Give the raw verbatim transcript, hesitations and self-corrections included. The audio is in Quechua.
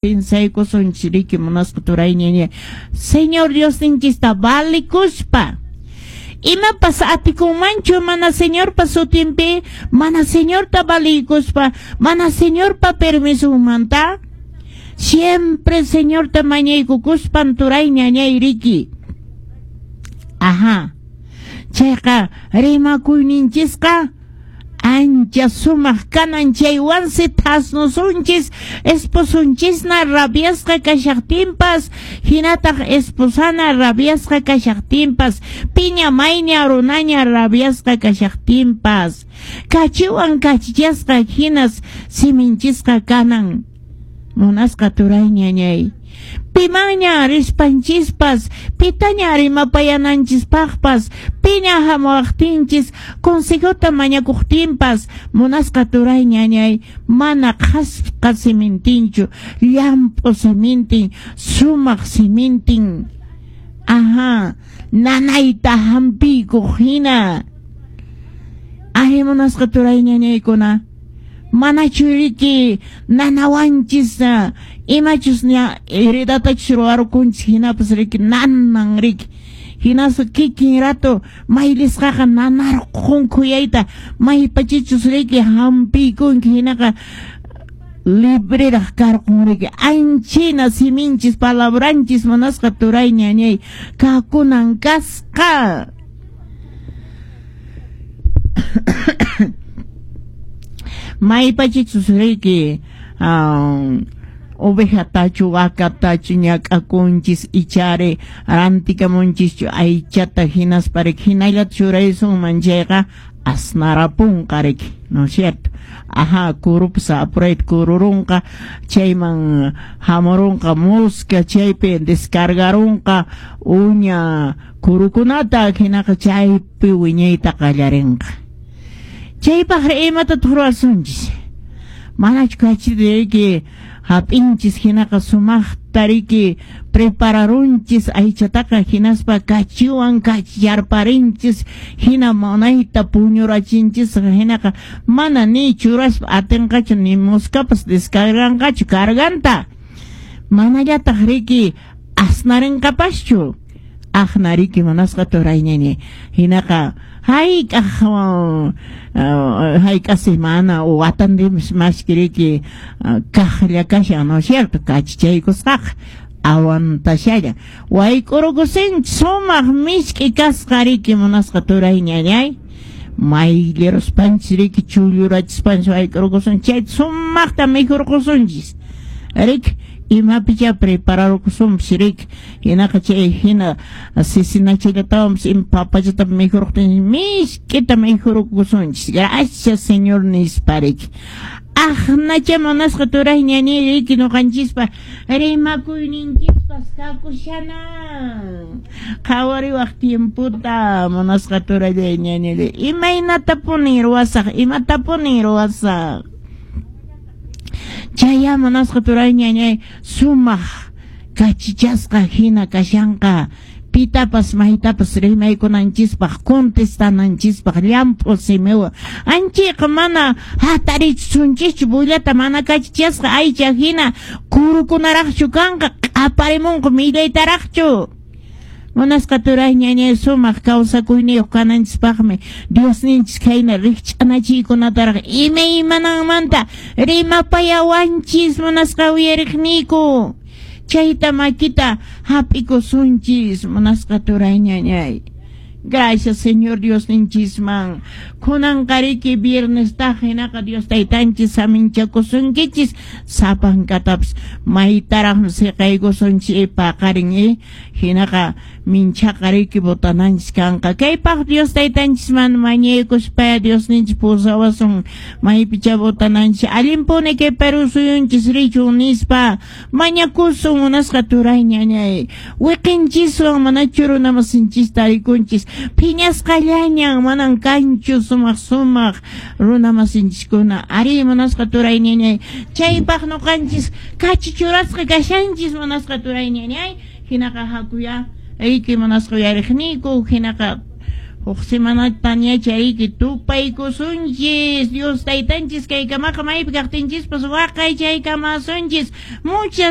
Pinsaykusunchis riki munasqa turayñaña Señor Diosninchista valikuspa. Imapas atikunmanchu mana Señorpa sutinpi, mana Señorta valiykuspa, mana Señorpa permisunmanta? Siempre Señorta mañaykukuspan turayñañay riki. Ajá. Chayqa rimakuyninchisqa ancha sumaq kanan, chaywansi thasnusunchis esposunchisna rabiasqa kashaqtinpas, hinataq esposana rabiasqa kashaqtinpas, piña mayña runaña rabiasqa kashaqtinpas, kachiwan kachichasqa hinas siminchisqa kanan. Munasqa turayñañay. Pimanña rispanchispas, pitaña rimapayananchispaqpas, piña hamuwaqtinchis, consejota mañakuqtinpas, munasqa turayñañay, mana qhasqa simintinchu, llamp'u simintin, sumaq simintin. Ajá, nanayta hampiykuq hina. Ay, munasqa turayñañaykuna, manachu riki nanawanchis imachus ña heredatachus ruwarukunchis hinapas riki nanan riki hinaspa kikin rato maylisqaqa nanarqun khuyayta maypachichus riki hampiykunki hinaqa libreraq karqun riki anchina siminchis palabranchis munasqa turayñañay kakunan kasqa. Maypachichus riki um, ovejatachu vacatachu ñak'akunchis ichari rantikamunchischu aychata hinaspa riki hinallata churaysunman chayqa asnarapunqa riki, ¿no es cierto? Ajá, kurupas apurayta kururunqa, chayman hamurunqa mosca, chaypi descargarunqa uña kurukunata hinaqa chaypi wiñayta qallarinqa. Chaypaq imatataq ruwasunchis? Manachu kachita riki hap'inchis hinaqa sumaqta riki prepararunchis aychataqa hinaspa kachiwan kachiyarparinchis hina munayta puñurachinchis hinaqa mana ni churaspa atinqachu ni moscapas descarganqachu carganta. Manallataq riki asnarinqapaschu. Aqna riki munasqa turayñañay hinaqa hayk'aq hayk'a semana o watandimis mashkiriki kaqlla kashan, ¿no es cierto? Kachichaykusqaqa aguantashallan wayk'urukusinchis sumaq misk'i kasqa riki munasqa turayñañay mayllaruspanchis riki chullurachispanchis wayk'urukusunchis chayta sumaqta mikhurqusunchis riki imapicha prepararukusunpis riki hinaqa chay hina sisinachillatawanpis ima papachata mikhurqtinchis misk'ita mikhurukusunchis gracias Señor nispa riki. Aqnacha munasqa turayñañay riki ñuqanchispa rimakuyninchispas kakushanan qhawariwaq tiemputa munasqa turayñañay imaynatapuni ruwasaq imatapuni ruwasaq. Chaya munasqa turayñañay sumaq kachichasqa hina kashanqa pitapas maytapas rimaykunanchispaq contestananchispaq llamp'u simiwan anchayqa mana hatarichisunchischu bullata mana kachichasqa aycha hina kurukunaraqchu kanqa q'aparimunqa millaytaraqchu. Munasqa turayñañay sumaq kawsakuyniyuq kananchispaqmi Diosninchis khayna rikch'anachiykunataraq imaymananmanta rimapayawanchis munasqa uyariqniyku. Chayta makita hap'ikusunchis munasqa turayñañay. Gracias Señor Diosninchisman. Kunanqa riki viernestaq hinaqa Dios taytanchis saminchakusunkichis sapankatapas maytaraqmi siqaykusunchis paqarin eh hinaqa minchaqa riki botananchis kanqa. Kaypaq Dios taytanchisman mañaykuspa Diosninchis pusawasun maypicha botananchis allinpuni kay Perú suyunchis richun nispa mañakusun munasqa turayñañay wiqinchiswan manachu runamasinchista rikunchis phiñasqallañan manan kanchu sumaq sumaq runamasinchiskuna ari munasqa turayñañay chaypaq ñuqanchis kachi churasqa kashanchis munasqa turayñañay hinaqa hakuya riki munasqa uyariqniyku hinaqa Huk semanata chariki tupaykusunchis. Dios taytanchis kaykamaqa maypi kaqtinchispas waqaychaykamasunchis. Muchas